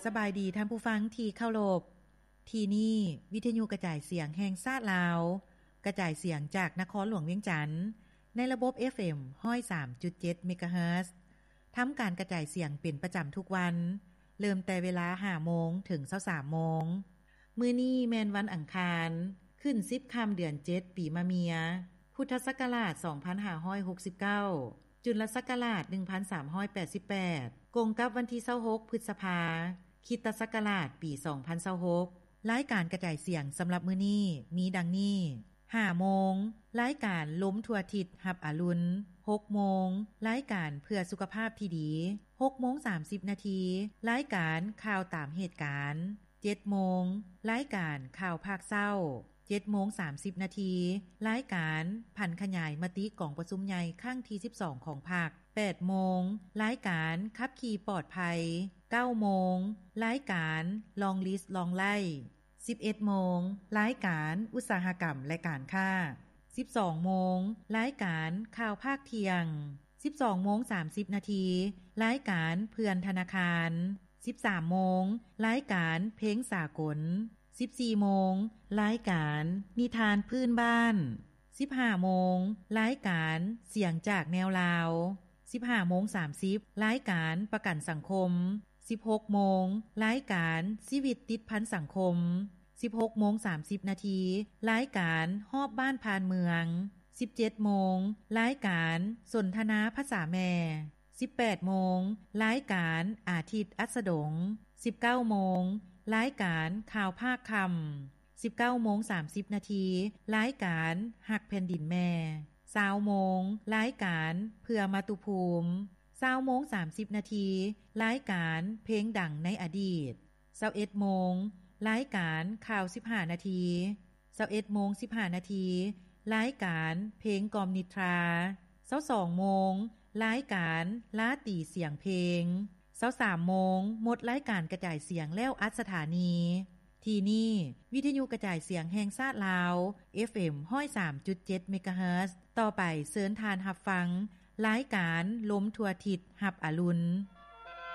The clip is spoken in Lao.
ສະບາຍດີທ່ານຜູ້ຟັງທີ່ເຄົາລົບ. ທີ່ນີ້ວິທະຍຸກະຈາຍສຽງແຫ່ງຊາດລາວ, ກະຈາຍສຽງຈາກນະຄອນຫຼວງວຽງຈັນ ໃນລະບົບ ເອັຟເອັມ ຮ້ອຍສາມຈຸດເຈັດ ເມກາເຮີດ. ທຳການກະຈາຍສຽງເປັນປະຈຳທຸກວັນ, ເລີ່ມແຕ່ເວລາ ຫ້າໂມງ ເຖິງ ຊາວສາມໂມງ. ມື້ນີ້ແມ່ນວັນອັງຄານ, ຂຶ້ນສິບຄ່ຳເດືອນເຈັດ ປີມະເມຍ, ພຸດທະສັກກະລາດ ສອງພັນຫ້າຮ້ອຍຫົກສິບເກົ້າ, ຈຸນລະສັກກະລາດ ໜຶ່ງພັນສາມຮ້ອຍແປດສິບແປດ, ກົງກັບວັນທີ ຊາວຫົກ ພຶດສະພາ, ຄຣິສຕະສັກກະລາດ ປີ ສອງພັນຊາວຫົກ. ລາຍການກະຈາຍສຽງສຳລັບມື້ນີ້ມີດັ່ງນີ້: ຫ້າໂມງ, ລາຍການລົມທົ່ວທິດຮັບອະລຸນ. ຫົກໂມງ, ລາຍການເພື່ອສຸຂະພາບທີ່ດີ. ຫົກໂມງສາມສິບນາທີ, ລາຍການຂ່າວຕາມເຫດການ. ເຈັດໂມງ, ລາຍການຂ່າວພາກເຊົ້າ. ເຈັດໂມງສາມສິບນາທີ, ລາຍການຜັນຂະຫຍາຍມະຕິກອງປະຊຸມໃຫຍ່ຄັ້ງທີສິບສອງຂອງພັກ. ແປດໂມງ, ລາຍການຂັບຂີ່ປອດໄພ. ເກົ້າໂມງ, ລາຍການລອງລິສລອງໄລ່. ສິບເອັດໂມງ, ລາຍການອຸດສາຫະກຳ ແລະ ການຄ້າ. ສິບສອງໂມງ, ລາຍການຂ່າວພາກທ່ຽງ. ສິບສອງໂມງສາມສິບນາທີ, ລາຍການເພື່ອນທະນາຄານ. ສິບສາມໂມງ, ລາຍການເພງສາກົນ. ສິບສີ່ໂມງ, ລາຍການນິທານພື້ນບ້ານ. ສິບຫ້າໂມງ, ລາຍການສຽງຈາກແນວລາວ. ສິບຫ້າໂມງສາມສິບ, ລາຍການປະກັນສັງຄົມ. ສິບຫົກໂມງ, ລາຍການຊີວິດຕິດພັນສັງຄົມ. ສິບຫົກໂມງສາມສິບນາທີ, ລາຍການຮອບບ້ານຜ່ານເມືອງ. ສິບເຈັດໂມງ, ລາຍການສົນທະນາພາສາແມ່. ສິບແປດໂມງ, ລາຍການອາທິດອັດສະດົງ. ສິບເກົ້າໂມງ, ລາຍການຂ່າວພາກຄ່ຳ. ສິບເກົ້າໂມງສາມສິບນາທີ, ລາຍການຮັກແຜ່ນດິນແມ່. ຊາວໂມງ, ລາຍການເພື່ອມາຕຸພູມ. ຊາວໂມງສາມສິບນາທີ, ລາຍການເພງດັງໃນອະດີດ. ຊາວເອັດໂມງ, ລາຍການຂ່າວສິບຫ້ານາທີ. ຊາວເອັດໂມງສິບຫ້ານາທີ, ລາຍການເພງກ່ອມນິດທາ. ຊາວສອງໂມງ, ລາຍການລາຕີສຽງເພງ. ຊາວສາມໂມງ, ໝົດລາຍການກະຈາຍສຽງແລ້ວອັດສະຖານີ. ທີ່ນີ້ ວິທະຍຸກະຈາຍສຽງແຫ່ງຊາດລາວ ເອັຟເອັມ ຮ້ອຍສາມຈຸດເຈັດ ເມກາເຮີດ. ຕໍ່ໄປເຊີນທ່ານຮັບຟັງລາຍການລົມທົ່ວທິດຮັບອະລຸນ.